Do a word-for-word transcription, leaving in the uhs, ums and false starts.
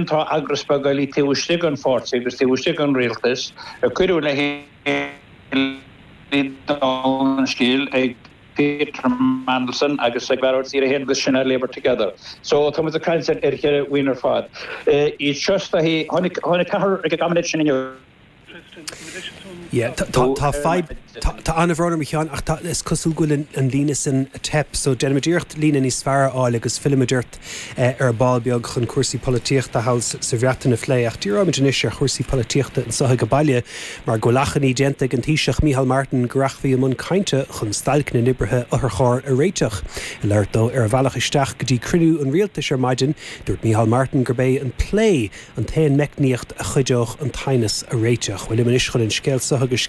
Tá eagras beag eile taobh istigh den pháirtí agus taobh istigh den rialtas a cuireadh le chéile an scéal ag Peter Mandelson agus ag Gearóid Seoighe agus sin Labour Together. So tá a caint ar cheithre bhuíon ar fad. Iad seo tháinig ceathrar ag an gcabinet sin inniu. Tá fadhb tá an-bhrón orm a Sheáin ach tá is cosúil go bhfuil an líne sin ag teip, so déanfaimid iarracht líne níos fearr a fháil agus fillfimid ort ar ball beag chun cúrsaí polaitíochta thall sa Bhreatain a phlé ach díreoimid anois ar chúrsaí polaitíochta anseo ag baile mar go bhfuil achainí déanta ag an Taoiseach Micheál Martin go rachfaí i mbun cainte chun stailc na n-oibrithe otharcharr a réiteach. Ag labhairt dó ar a bhealach isteach go dtí cruinniú an rialtais ar maidin, dúirt Micheál Martin gurb é an plé an t-aon meicníocht a chuideodh an t-aighneas a réiteach. Bhfuil anois chun an scéal seo agus